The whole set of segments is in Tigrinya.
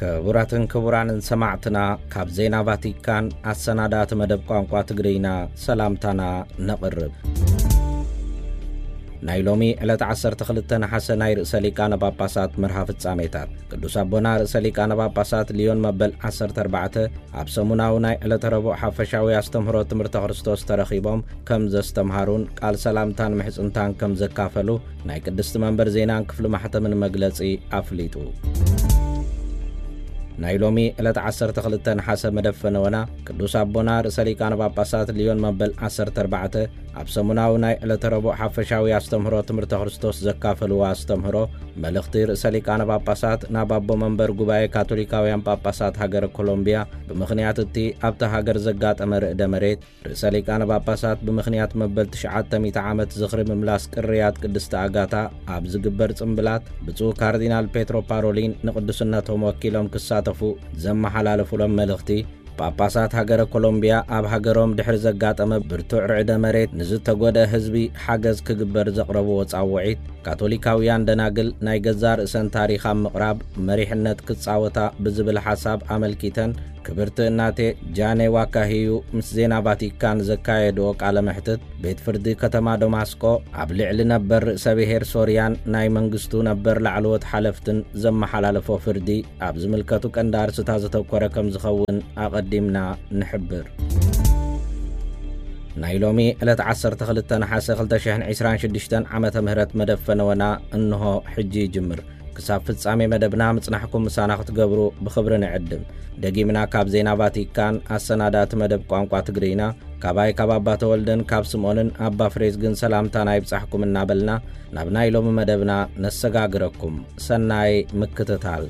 ክቡራትን ክቡራንን ሰማዕትና፣ ካብ ዜና ቫቲካን ኣሰናዳእቲ መደብ ቋንቋ ትግርኛ ሰላምታና ነቕርብ። ናይ ሎሚ ዕለት ዓሰርተ ክልተ ነሓሰ ናይ ርእሰ ሊቃነ ጳጳሳት መርሃ ፍጻሜታት። ቅዱስ ኣቦና ርእሰ ሊቃነ ጳጳሳት ሊዮን መበል ዓሰርተ ኣርባዕተ ኣብ ሰሙናዊ ናይ ዕለተ ረቡዕ ሓፈሻዊ ኣስተምህሮ ትምህርተ ክርስቶስ ተረኺቦም ከም ዘስተምሃሩን ቃል ሰላምታን ምሕጽንታን ከም ዘካፈሉ ናይ ቅድስቲ መንበር ዜናን ክፍሊ ማሕተምን መግለጺ ኣፍሊጡ። ናይ ሎሚ ዕለት ዓሰርተ ክልተ ነሓሰ መደብ ፈነወና ቅዱስ ኣቦና ርእሰ ሊቃነ ጳጳሳት ሊዮን መበል ዓሰርተ ኣርባዕተ ኣብ ሰሙናዊ ናይ ዕለተ ረቡዕ ሓፈሻዊ ኣስተምህሮ ትምህርተ ክርስቶስ ዘካፈልዎ ኣስተምህሮ፣ መልእኽቲ ርእሰ ሊቃነ ጳጳሳት ናብ ኣቦ መንበር ጉባኤ ካቶሊካውያን ጳጳሳት ሃገረ ኮሎምቢያ ብምኽንያት እቲ ኣብታ ሃገር ዘጋጠመ ርእደ መሬት፣ ርእሰ ሊቃነ ጳጳሳት ብምኽንያት መበል ትሽዓተ ሚእቲ ዓመት ዝኽሪ ምምላስ ቅርያት ቅድስቲ ኣጋታ ኣብ ዝግበር ጽምብላት፣ ብፁዕ ካርዲናል ፔትሮ ፓሮሊን ንቅዱስነቶም ወኪሎም ክሳተፉ ዘመሓላለፉሎም መልእኽቲ፣ ጳጳሳት ሃገረ ኮሎምቢያ ኣብ ሃገሮም ድሕሪ ዘጋጠመ ብርቱዕ ርዕደ መሬት ንዝተጎድአ ህዝቢ ሓገዝ ክግበር ዘቕረብዎ ጻውዒት፣ ካቶሊካውያን ደናግል ናይ ገዛእ ርእሰን ታሪኽ ኣብ ምቕራብ መሪሕነት ክጻወታ ብዝብል ሓሳብ ኣመልኪተን፣ ክብርቲ እናቴ ጃኔ ዋካሂዩ ምስ ዜና ቫቲካን ዘካየድኦ ቃለ መሕትት፣ ቤት ፍርዲ ከተማ ደማስቆ ኣብ ልዕሊ ነበር ርእሰ ብሔር ሶርያን ናይ መንግስቱ ነበር ላዕለዎት ሓለፍትን ዘመሓላለፎ ፍርዲ ኣብ ዝምልከቱ ቀንዲ ኣርስታት ዘተኮረ ከም ዝኸውን ኣቐዲምና ንሕብር። ናይ ሎሚ ዕለት ዓሰርተ ክልተ ነሓሰ ክልተ ሽሕን ዕስራን ሽዱሽተን ዓመተ ምህረት መደብ ፈነወና እንሆ ሕጂ ይጅምር። ክሳብ ፍጻሜ መደብና ምጽናሕኩም ምሳና ክትገብሩ ብኽብሪ ንዕድም። ደጊምና ካብ ዜና ቫቲካን ኣሰናዳእቲ መደብ ቋንቋ ትግርይና፣ ካባይ ካብ ኣባ ተወልደን ካብ ስምኦንን ኣባ ፍሬዝግን ሰላምታና ይብጻሕኩም እናበልና፣ ናብ ናይ ሎሚ መደብና ነሰጋግረኩም። ሰናይ ምክትታል።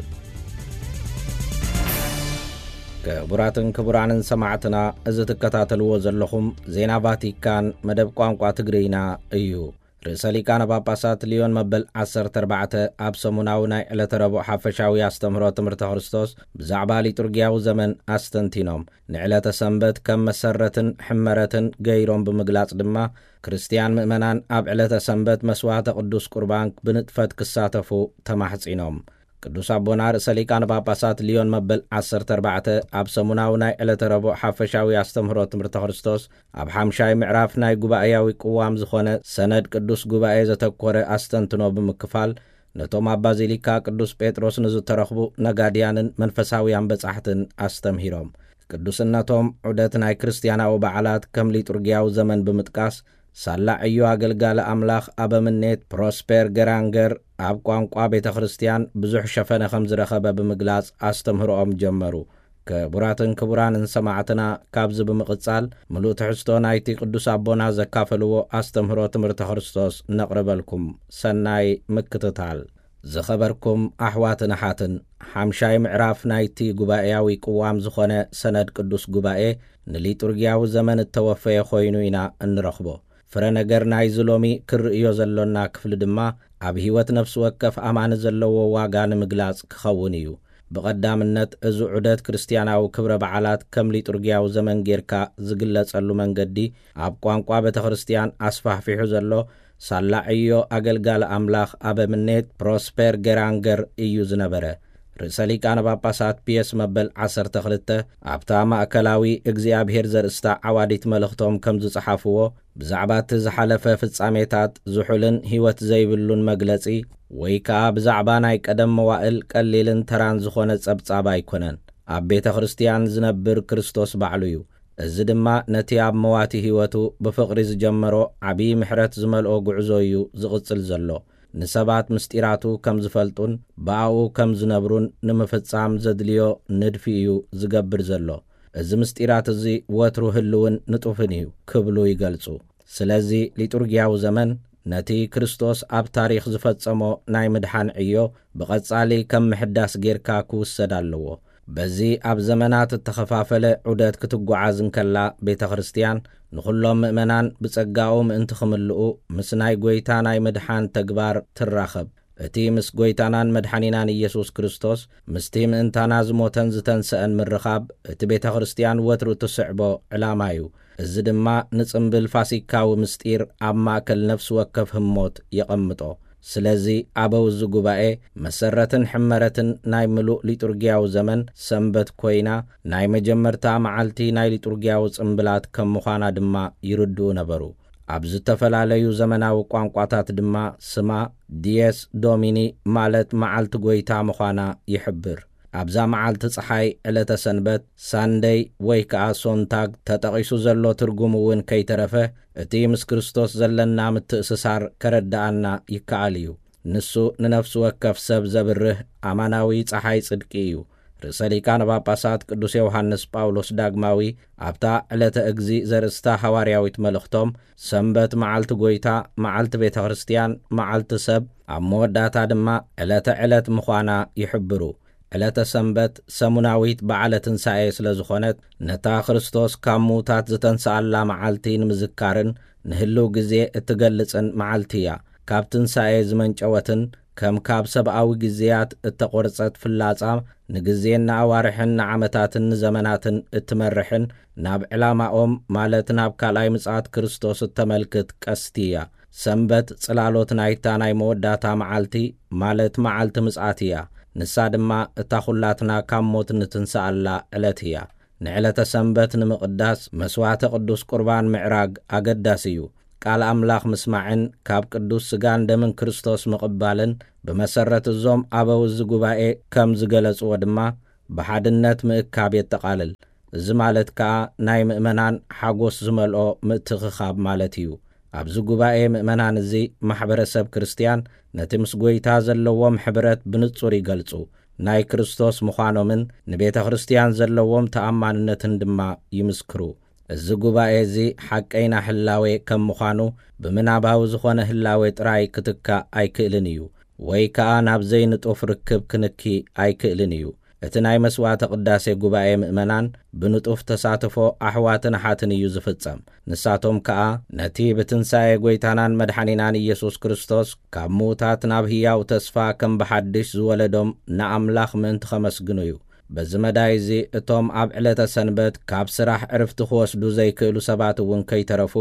ክቡራትን ክቡራንን ሰማዕትና፣ እዚ ትከታተልዎ ዘለኹም ዜና ቫቲካን መደብ ቋንቋ ትግርይና እዩ። ርእሰ ሊቃነ ጳጳሳት ሊዮን መበል ዓሰርተ ኣርባዕተ ኣብ ሰሙናዊ ናይ ዕለተ ረቡዕ ሓፈሻዊ ኣስተምህሮ ትምህርተ ክርስቶስ ብዛዕባ ሊጡርጊያዊ ዘመን ኣስተንቲኖም፣ ንዕለተ ሰንበት ከም መሰረትን ሕመረትን ገይሮም ብምግላጽ ድማ፣ ክርስትያን ምእመናን ኣብ ዕለተ ሰንበት መስዋዕተ ቅዱስ ቁርባን ብንጥፈት ክሳተፉ ተማሕጺኖም። ቅዱስ ኣቦና ርእሰ ሊቃነ ጳጳሳት ሊዮን መበል ዓሰርተ ኣርባዕተ ኣብ ሰሙናዊ ናይ ዕለተ ረቡዕ ሓፈሻዊ ኣስተምህሮ ትምህርተ ክርስቶስ ኣብ ሓምሻይ ምዕራፍ ናይ ጉባኤያዊ ቅዋም ዝኾነ ሰነድ ቅዱስ ጉባኤ ዘተኮረ ኣስተንትኖ ብምክፋል፣ ነቶም ኣብ ባዚሊካ ቅዱስ ጴጥሮስ ንዝተረኽቡ ነጋድያንን መንፈሳውያን በጻሕትን ኣስተምሂሮም። ቅዱስነቶም ዑደት ናይ ክርስትያናዊ በዓላት ከም ሊጡርጊያዊ ዘመን ብምጥቃስ፣ ሳላ ዕዮ ኣገልጋሊ ኣምላኽ ኣበምኔት ፕሮስፔር ገራንገር ኣብ ቋንቋ ቤተ ክርስትያን ብዙሕ ሸፈነ ከም ዝረኸበ ብምግላጽ ኣስተምህሮኦም ጀመሩ። ክቡራትን ክቡራንን ሰማዕትና፣ ካብዚ ብምቕጻል ምሉእ ትሕዝቶ ናይቲ ቅዱስ ኣቦና ዘካፈልዎ ኣስተምህሮ ትምህርተ ክርስቶስ ነቕርበልኩም። ሰናይ ምክትታል። ዝኸበርኩም ኣሕዋትን ኣሓትን፣ ሓምሻይ ምዕራፍ ናይቲ ጉባኤያዊ ቅዋም ዝኾነ ሰነድ ቅዱስ ጉባኤ ንሊጡርጊያዊ ዘመን እተወፈየ ኮይኑ ኢና እንረኽቦ። ፍረ ነገር ናይዚ ሎሚ ክርእዮ ዘሎና ክፍሊ ድማ ኣብ ህይወት ነፍሲ ወከፍ ኣማኒ ዘለዎ ዋጋ ንምግላጽ ክኸውን እዩ። ብቐዳምነት፣ እዚ ዑደት ክርስትያናዊ ክብረ በዓላት ከም ሊጡርጊያዊ ዘመን ጌርካ ዝግለጸሉ መንገዲ፣ ኣብ ቋንቋ ቤተ ክርስትያን ኣስፋሕፊሑ ዘሎ ሳላ ዕዮ ኣገልጋሊ ኣምላኽ ኣበምኔት ፕሮስፔር ገራንገር እዩ ዝነበረ። ርእሰ ሊቃነ ጳጳሳት ፒየስ መበል ዓሰርተ ክልተ ኣብታ ማእከላዊ እግዚኣብሔር ዘርእስታ ዓዋዲት መልእኽቶም ከም ዝጸሓፍዎ፣ ብዛዕባ እቲ ዝሓለፈ ፍጻሜታት ዝሑልን ህይወት ዘይብሉን መግለጺ፣ ወይ ከኣ ብዛዕባ ናይ ቀደም መዋእል ቀሊልን ተራን ዝኾነ ጸብጻብ ኣይኮነን። ኣብ ቤተ ክርስትያን ዝነብር ክርስቶስ ባዕሉ እዩ። እዚ ድማ ነቲ ኣብ መዋቲ ህይወቱ ብፍቕሪ ዝጀመሮ ዓብዪ ምሕረት ዝመልኦ ጉዕዞ እዩ ዝቕጽል ዘሎ። ንሰባት ምስጢራቱ ከም ዝፈልጡን ብኣኡ ከም ዝነብሩን ንምፍጻም ዘድልዮ ንድፊ እዩ ዝገብር ዘሎ። እዚ ምስጢራት እዚ ወትሩ ህልውን ንጡፍን እዩ ክብሉ ይገልጹ። ስለዚ ሊጡርጊያዊ ዘመን ነቲ ክርስቶስ ኣብ ታሪኽ ዝፈጸሞ ናይ ምድሓን ዕዮ ብቐጻሊ ከም ምሕዳስ ጌርካ ክውሰድ ኣለዎ። በዚ ኣብ ዘመናት እተኸፋፈለ ዑደት ክትጓዓዝ እንከላ፣ ቤተ ክርስትያን ንኹሎም ምእመናን ብጸጋኡ ምእንቲ ክምልኡ፣ ምስ ናይ ጐይታ ናይ ምድሓን ተግባር ትራኸብ። እቲ ምስ ጐይታናን መድሓኒናን ኢየሱስ ክርስቶስ፣ ምስቲ ምእንታና ዝሞተን ዝተንሰአን ምርኻብ፣ እቲ ቤተ ክርስትያን ወትሩ እትስዕቦ ዕላማ እዩ። እዚ ድማ ንጽምብል ፋሲካዊ ምስጢር ኣብ ማእከል ነፍሲ ወከፍ ህሞት የቐምጦ። ስለዚ ኣበው እዚ ጉባኤ መሰረትን ሕመረትን ናይ ምሉእ ሊጡርጊያዊ ዘመን ሰንበት ኮይና፣ ናይ መጀመርታ መዓልቲ ናይ ሊጡርጊያዊ ጽምብላት ከም ምዃና ድማ ይርድኡ ነበሩ። ኣብ ዝተፈላለዩ ዘመናዊ ቋንቋታት ድማ ስማ ዲየስ ዶሚኒ፣ ማለት መዓልቲ ጐይታ ምዃና ይሕብር። ኣብዛ መዓልቲ ጸሓይ፣ ዕለተ ሰንበት፣ ሳንደይ ወይ ከኣ ሶንታግ ተጠቒሱ ዘሎ ትርጉም እውን ከይተረፈ፣ እቲ ምስ ክርስቶስ ዘለና ምትእስሳር ከረድኣና ይከኣል እዩ። ንሱ ንነፍሲ ወከፍ ሰብ ዘብርህ ኣማናዊ ጸሓይ ጽድቂ እዩ። ርእሰ ሊቃነ ጳጳሳት ቅዱስ ዮሃንስ ጳውሎስ ዳግማዊ ኣብታ ዕለተ እግዚእ ዘርእስታ ሃዋርያዊት መልእኽቶም፣ ሰንበት መዓልቲ ጐይታ፣ መዓልቲ ቤተ ክርስቲያን፣ መዓልቲ ሰብ፣ ኣብ መወዳእታ ድማ ዕለተ ዕለት ምዃና ይሕብሩ። ዕለተ ሰንበት ሰሙናዊት በዓለ ትንሳኤ ስለ ዝኾነት፣ ነታ ክርስቶስ ካብ ምዉታት ዝተንስኣላ መዓልቲ ንምዝካርን ንህልው ግዜ እትገልጽን መዓልቲ እያ። ካብ ትንሳኤ ዝመንጨወትን ከም ካብ ሰብኣዊ ግዜያት እተቖርጸት ፍላጻ፣ ንግዜን ንኣዋርሕን ንዓመታትን ንዘመናትን እትመርሕን፣ ናብ ዕላማኦም፣ ማለት ናብ ካልኣይ ምጽኣት ክርስቶስ እተመልክት ቀስቲ እያ። ሰንበት ጽላሎት ናይታ ናይ መወዳእታ መዓልቲ፣ ማለት መዓልቲ ምጽኣት እያ። ንሳ ድማ እታ ኹላትና ካብ ሞት እንትንስኣላ ዕለት እያ። ንዕለተ ሰንበት ንምቕዳስ መስዋዕተ ቅዱስ ቁርባን ምዕራግ ኣገዳሲ እዩ። ቃል ኣምላኽ ምስማዕን ካብ ቅዱስ ስጋን ደምን ክርስቶስ ምቕባልን፣ ብመሰረት እዞም ኣበው እዚ ጉባኤ ከም ዝገለጽዎ ድማ፣ ብሓድነት ምእካብ የጠቓልል። እዚ ማለት ከኣ ናይ ምእመናን ሓጎስ ዝመልኦ ምትእኽኻብ ማለት እዩ። ኣብዚ ጉባኤ ምእመናን እዚ፣ ማሕበረሰብ ክርስትያን ነቲ ምስ ጐይታ ዘለዎም ሕብረት ብንጹር ይገልጹ። ናይ ክርስቶስ ምዃኖምን ንቤተ ክርስትያን ዘለዎም ተኣማንነትን ድማ ይምስክሩ። እዚ ጉባኤ እዚ ሓቀይና ህላዌ ከም ምዃኑ፣ ብምናባዊ ዝኾነ ህላዌ ጥራይ ክትካእ ኣይክእልን እዩ፣ ወይ ከኣ ናብ ዘይንጡፍ ርክብ ክንኪ ኣይክእልን እዩ። እቲ ናይ መስዋዕተ ቅዳሴ ጉባኤ ምእመናን ብንጡፍ ተሳትፎ ኣሕዋትን ኣሓትን እዩ ዝፍጸም። ንሳቶም ከኣ ነቲ ብትንሳኤ ጐይታናን መድሓኒናን ኢየሱስ ክርስቶስ ካብ ምዉታት ናብ ህያው ተስፋ ከም ብሓድሽ ዝወለዶም ንኣምላኽ ምእንቲ ኸመስግኑ እዩ። በዚ መዳይ እዚ፣ እቶም ኣብ ዕለተ ሰንበት ካብ ስራሕ ዕርፍቲ ክወስዱ ዘይክእሉ ሰባት እውን ከይተረፉ፣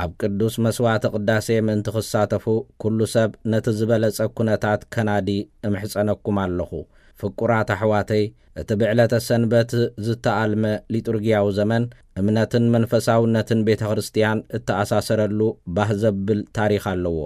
ኣብ ቅዱስ መስዋዕተ ቅዳሴ ምእንቲ ክሳተፉ፣ ኩሉ ሰብ ነቲ ዝበለጸ ኩነታት ከናዲ እምሕጸነኩም ኣለኹ። ፍቁራት ኣሕዋተይ፣ እቲ ብዕለተ ሰንበት ዝተኣልመ ሊጡርጊያዊ ዘመን፣ እምነትን መንፈሳውነትን ቤተ ክርስትያን እተኣሳሰረሉ ባህ ዘብል ታሪኽ ኣለዎ።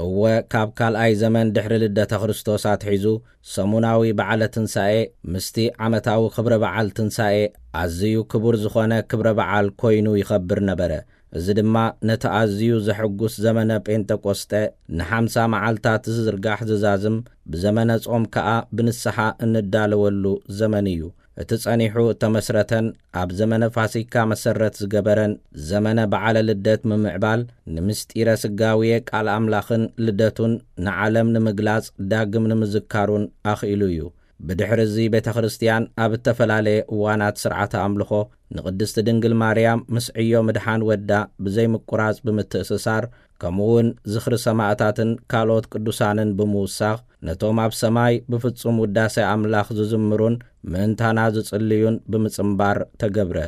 እወ፣ ካብ ካልኣይ ዘመን ድሕሪ ልደተ ክርስቶስ ኣትሒዙ፣ ሰሙናዊ በዓለ ትንሳኤ ምስቲ ዓመታዊ ክብረ በዓል ትንሳኤ ኣዝዩ ክቡር ዝኾነ ክብረ በዓል ኮይኑ ይኸብር ነበረ። እዚ ድማ ነቲ ኣዝዩ ዘሐጉስ ዘመነ ጴንጠቆስጠ፣ ንሓምሳ መዓልታት ዝዝርጋሕ ዝዛዝም፣ ብዘመነ ጾም ከኣ ብንስሓ እንዳለወሉ ዘመን እዩ። እቲ ጸኒሑ እተመስረተን ኣብ ዘመነ ፋሲካ መሰረት ዝገበረን ዘመነ በዓለ ልደት ምምዕባል፣ ንምስጢረ ስጋዌ ቃል ኣምላኽን ልደቱን ንዓለም ንምግላጽ ዳግም ንምዝካሩን ኣኽኢሉ እዩ። ብድሕሪ እዚ ቤተ ክርስትያን ኣብ እተፈላለየ እዋናት ስርዓተ ኣምልኾ ንቅድስቲ ድንግል ማርያም ምስ ዕዮ ምድሓን ወዳ ብዘይምቁራጽ ብምትእስሳር፣ ከምኡ እውን ዝኽሪ ሰማእታትን ካልኦት ቅዱሳንን ብምውሳኽ፣ ነቶም ኣብ ሰማይ ብፍጹም ውዳሴ ኣምላኽ ዝዝምሩን ምእንታና ዝጽልዩን ብምጽንባር ተገብረ።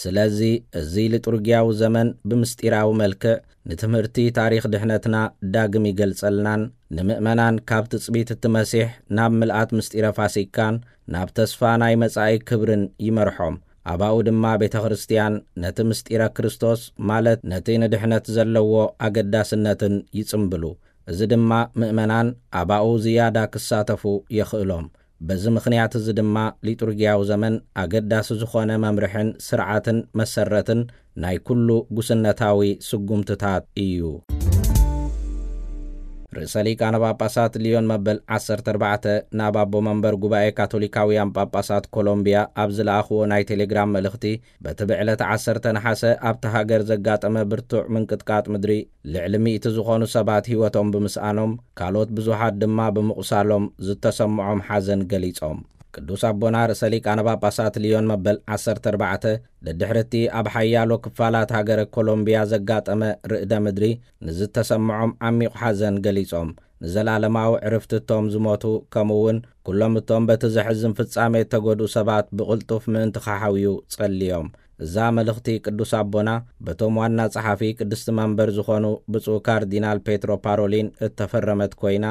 ስለዚ እዚ ሊጡርጊያዊ ዘመን ብምስጢራዊ መልክዕ ንትምህርቲ ታሪኽ ድሕነትና ዳግም ይገልጸልናን፣ ንምእመናን ካብ ትጽቢት እቲ መሲሕ ናብ ምልኣት ምስጢረ ፋሲካን ናብ ተስፋ ናይ መጻኢ ክብርን ይመርሖም። ኣባኡ ድማ ቤተ ክርስትያን ነቲ ምስጢረ ክርስቶስ፣ ማለት ነቲ ንድሕነት ዘለዎ ኣገዳስነትን ይጽምብሉ። እዚ ድማ ምእመናን ኣባኡ ዝያዳ ክሳተፉ የኽእሎም። በዚ ምኽንያት እዚ ድማ ሊጡርጊያዊ ዘመን ኣገዳሲ ዝኾነ መምርሕን ስርዓትን መሰረትን ናይ ኩሉ ጉስነታዊ ስጉምትታት እዩ። ርእሰ ሊቃነ ጳጳሳት ሊዮን መበል ዓሰርተ ኣርባዕተ ናብ ኣቦ መንበር ጉባኤ ካቶሊካውያን ጳጳሳት ኮሎምቢያ ኣብ ዝለኣኽዎ ናይ ቴሌግራም መልእኽቲ፣ በቲ ብዕለት ዓሰርተ ነሓሰ ኣብቲ ሃገር ዘጋጠመ ብርቱዕ ምንቅጥቃጥ ምድሪ ልዕሊ ሚእቲ ዝኾኑ ሰባት ህይወቶም ብምስኣኖም፣ ካልኦት ብዙሓት ድማ ብምቑሳሎም ዝተሰምዖም ሓዘን ገሊጾም። ቅዱስ ኣቦና ርእሰ ሊቃነ ጳጳሳት ሊዮን መበል ዓሰርተ ኣርባዕተ፣ ደድሕሪ እቲ ኣብ ሓያሎ ክፋላት ሃገረ ኮሎምቢያ ዘጋጠመ ርእደ ምድሪ ንዝተሰምዖም ዓሚቕ ሓዘን ገሊጾም፣ ንዘላለማዊ ዕርፍቲ እቶም ዝሞቱ፣ ከምኡ እውን ኩሎም እቶም በቲ ዘሕዝን ፍጻሜ እተጎድኡ ሰባት ብቕልጡፍ ምእንቲ ክሓውዩ ጸልዮም። እዛ መልእኽቲ ቅዱስ ኣቦና በቶም ዋና ጸሓፊ ቅድስቲ መንበር ዝኾኑ ብፁዕ ካርዲናል ፔትሮ ፓሮሊን እተፈረመት ኮይና፣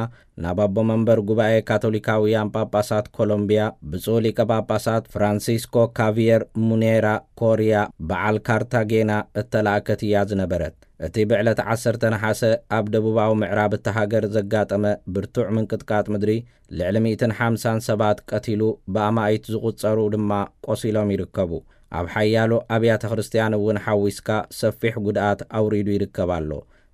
ናብ ኣቦ መንበር ጉባኤ ካቶሊካውያን ጳጳሳት ኮሎምቢያ ብፁዕ ሊቀ ጳጳሳት ፍራንሲስኮ ካቪየር ሙኔራ ኮሪያ በዓል ካርታጌና እተላእከት እያ ዝነበረት። እቲ ብዕለት ዓሰርተ ነሓሰ ኣብ ደቡባዊ ምዕራብ እታ ሃገር ዘጋጠመ ብርቱዕ ምንቅጥቃጥ ምድሪ ልዕሊ ሚእትን ሓምሳን ሰባት ቀቲሉ፣ ብኣማኢት ዝቑጸሩ ድማ ቆሲሎም ይርከቡ። ኣብ ሓያሎ ኣብያተ ክርስቲያን እውን ሓዊስካ ሰፊሕ ጉድኣት ኣውሪዱ ይርከብ ኣሎ።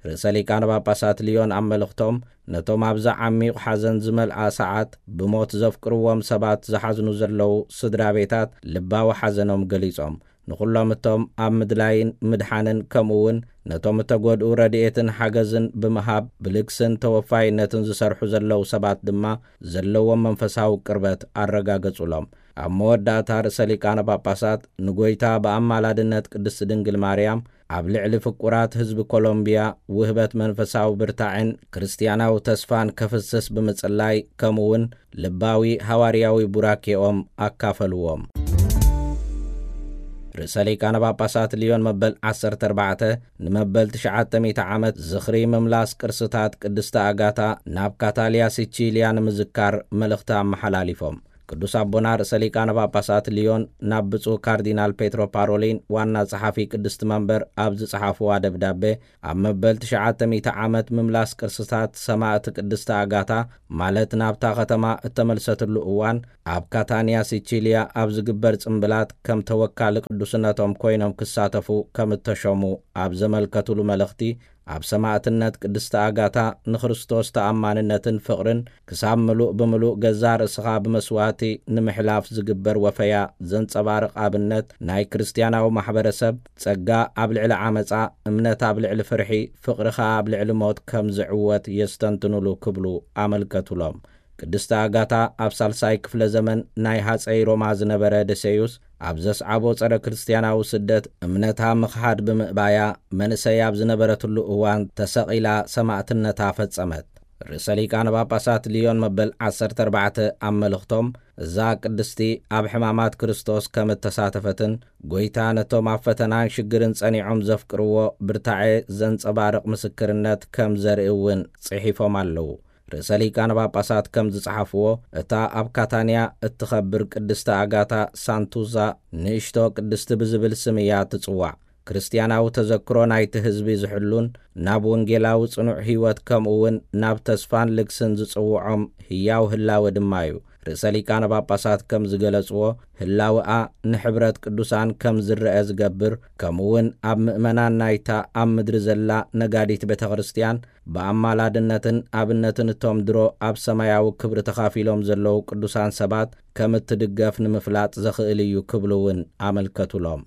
ርእሰ ሊቃነ ጳጳሳት ሊዮን ኣብ መልእኽቶም፣ ነቶም ኣብዛ ዓሚቕ ሓዘን ዝመልኣ ሰዓት ብሞት ዘፍቅርዎም ሰባት ዝሓዝኑ ዘለዉ ስድራ ቤታት ልባዊ ሓዘኖም ገሊጾም፣ ንኹሎም እቶም ኣብ ምድላይን ምድሓንን፣ ከምኡ እውን ነቶም እተጎድኡ ረድኤትን ሓገዝን ብምሃብ ብልግስን ተወፋይነትን ዝሰርሑ ዘለዉ ሰባት ድማ ዘለዎም መንፈሳዊ ቅርበት ኣረጋገጹሎም። ኣብ መወዳእታ ርእሰ ሊቃነ ጳጳሳት ንጎይታ ብኣማላድነት ቅድስቲ ድንግል ማርያም ኣብ ልዕሊ ፍቁራት ህዝቢ ኮሎምቢያ ውህበት መንፈሳዊ ብርታዕን ክርስትያናዊ ተስፋን ከፍስስ ብምጽላይ፣ ከምኡ እውን ልባዊ ሃዋርያዊ ቡራኬኦም ኣካፈልዎም። ርእሰ ሊቃነ ጳጳሳት ሊዮን መበል ዓሰርተ ኣርባዕተ ንመበል ትሽዓተ ሚእቲ ዓመት ዝኽሪ ምምላስ ቅርስታት ቅድስቲ ኣጋታ ናብ ካታሊያ ሲቺልያ ንምዝካር መልእኽቲ ኣመሓላሊፎም። ቅዱስ ኣቦና ርእሰ ሊቃነ ጳጳሳት ሊዮን ናብ ብፁዕ ካርዲናል ፔትሮ ፓሮሊን ዋና ጸሓፊ ቅድስቲ መንበር ኣብ ዝጸሓፍዋ ደብዳቤ፣ ኣብ መበል ትሽዓተ ሚእቲ ዓመት ምምላስ ቅርስታት ሰማእቲ ቅድስቲ ኣጋታ፣ ማለት ናብታ ከተማ እተመልሰትሉ እዋን፣ ኣብ ካታንያ ሲቺልያ ኣብ ዝግበር ጽምብላት ከም ተወካሊ ቅዱስነቶም ኮይኖም ክሳተፉ ከም እተሾሙ ኣብ ዘመልከቱሉ መልእኽቲ፣ ኣብ ሰማእትነት ቅድስቲ ኣጋታ ንክርስቶስ ተኣማንነትን ፍቕርን ክሳብ ምሉእ ብምሉእ ገዛእ ርእስኻ ብመስዋእቲ ንምሕላፍ ዝግበር ወፈያ ዘንጸባርቕ ኣብነት ናይ ክርስትያናዊ ማሕበረሰብ፣ ጸጋ ኣብ ልዕሊ ዓመጻ፣ እምነት ኣብ ልዕሊ ፍርሒ፣ ፍቕሪ ኸኣ ኣብ ልዕሊ ሞት ከም ዝዕወት የስተንትኑሉ ክብሉ ኣመልከቱሎም። ቅድስቲ ኣጋታ ኣብ ሳልሳይ ክፍለ ዘመን ናይ ሃጸይ ሮማ ዝነበረ ደሴዩስ ኣብ ዘስዓቦ ጸረ ክርስትያናዊ ስደት እምነታ ምኽሓድ ብምእባያ፣ መንእሰይ ኣብ ዝነበረትሉ እዋን ተሰቒላ ሰማእትነታ ፈጸመት። ርእሰ ሊቃነ ጳጳሳት ሊዮን መበል ዓሰርተ ኣርባዕተ ኣብ መልእኽቶም፣ እዛ ቅድስቲ ኣብ ሕማማት ክርስቶስ ከም እተሳተፈትን ጎይታ ነቶም ኣብ ፈተናን ሽግርን ጸኒዖም ዘፍቅርዎ ብርታዐ ዘንጸባርቕ ምስክርነት ከም ዘርኢ እውን ጽሒፎም ኣለዉ። ርእሰ ሊቃነ ጳጳሳት ከም ዝጸሓፍዎ፣ እታ ኣብ ካታንያ እትኸብር ቅድስቲ ኣጋታ ሳንቱዛ ንእሽቶ ቅድስቲ ብዝብል ስም እያ ትጽዋዕ። ክርስትያናዊ ተዘክሮ ናይቲ ህዝቢ ዝሕሉን ናብ ወንጌላዊ ጽኑዕ ህይወት፣ ከምኡ እውን ናብ ተስፋን ልግስን ዝጽውዖም ህያው ህላወ ድማ እዩ። ርእሰ ሊቃነ ጳጳሳት ከም ዝገለጽዎ፣ ህላወኣ ንሕብረት ቅዱሳን ከም ዝረአ ዝገብር፣ ከምኡ እውን ኣብ ምእመናን ናይታ ኣብ ምድሪ ዘላ ነጋዲት ቤተ ክርስትያን ብኣማላድነትን ኣብነትን እቶም ድሮ ኣብ ሰማያዊ ክብሪ ተኻፊሎም ዘለዉ ቅዱሳን ሰባት ከም እትድገፍ ንምፍላጥ ዘኽእል እዩ ክብሉ እውን ኣመልከቱሎም።